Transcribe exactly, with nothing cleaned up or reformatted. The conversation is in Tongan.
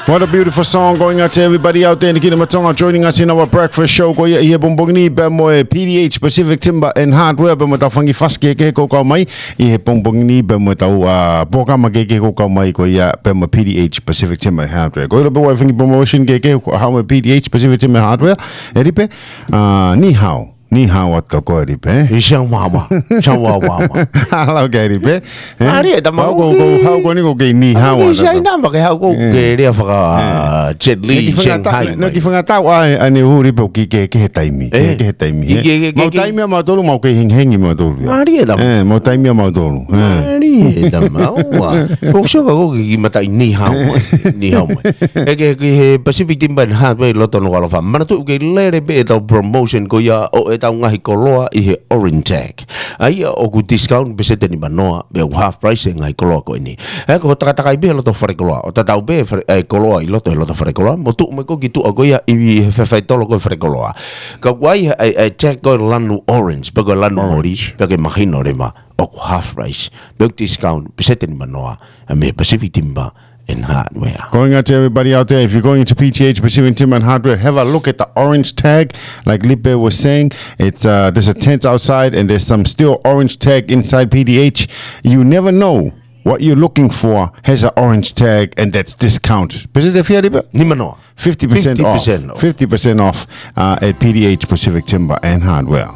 What a beautiful song going out to everybody out there in the Kingdom of Tonga joining us in our breakfast show ko ia ʻi he pongipongi ni pea mo e P D H Pacific Timber and Hardware pea mo e tau fangi fasi kehekehe ʻoku kau mai ʻi he pongipongi ni pea mo e tau uh, polokalama kehekehe ʻoku kau mai ko ia pea mo e P D H Pacific Timber and Hardware. Ko ʻilo pē ʻoku ʻi ai e fangi promotion kehekehe ʻoku haʻu mei he P D H Pacific Timber and Hardware. ʻE Lipe, uh, ni hao. Ni hao atu kia koe Lipe. ʻI Siaomaoma. Siaomaoma. Hala ke Lipe. ʻAri e tama hau ko, ko, hau ko ni ko ke ni hau atu. Sai namba ke hau ko ke lea faka Jet Li, Shanghai. No ki fanga tau ai ane uri pe ki ke ke he taimi. Ke he taimi. Mau taimi a mautolu mau ke hengihengi mautolu. ʻAri e tama. Mau taimi a mautolu. ʻAri e tama. Ua. Ko sio ka ko ki mata i ni hau. Ni hau. ʻE ke ki he Pacific Timber and Hardware ʻi loto Nukuʻalofa. Manatuʻi ke lele pē e tau promotion ko ia ʻo e tau ngaahi koloa ʻi he Orange Tag. ʻA ia ʻoku discount peseti nimanoa, pe ʻoku half price e ngaahi koloa ko eni. ʻE ko takatakai pē loto fale koloa, ʻo tatau pē e koloa ʻi loto, ʻi loto fale koloa, mo tuʻu mai ko ki tuʻa ko ia ʻi he faitolo ko e fale koloa. Ka ʻoku ʻi ai e tag ko e lanu orange, pe ko e lanu moli, pe ke mahino leva, ʻoku half price, pe ʻoku discount peseti nimanoa, ʻa mei Pacific Timber and Hardware. Going out to everybody out there, if you're going to P T H Pacific Timber and Hardware, have a look at the orange tag, like Lipe was saying. It's uh, there's a tent outside, and there's some still orange tag inside P T H. You never know what you're looking for has an orange tag, and that's discounted. Pacific Lipe? Nimanoa. Fifty percent off. Fifty percent off. Fifty percent off uh, at P T H Pacific Timber and Hardware.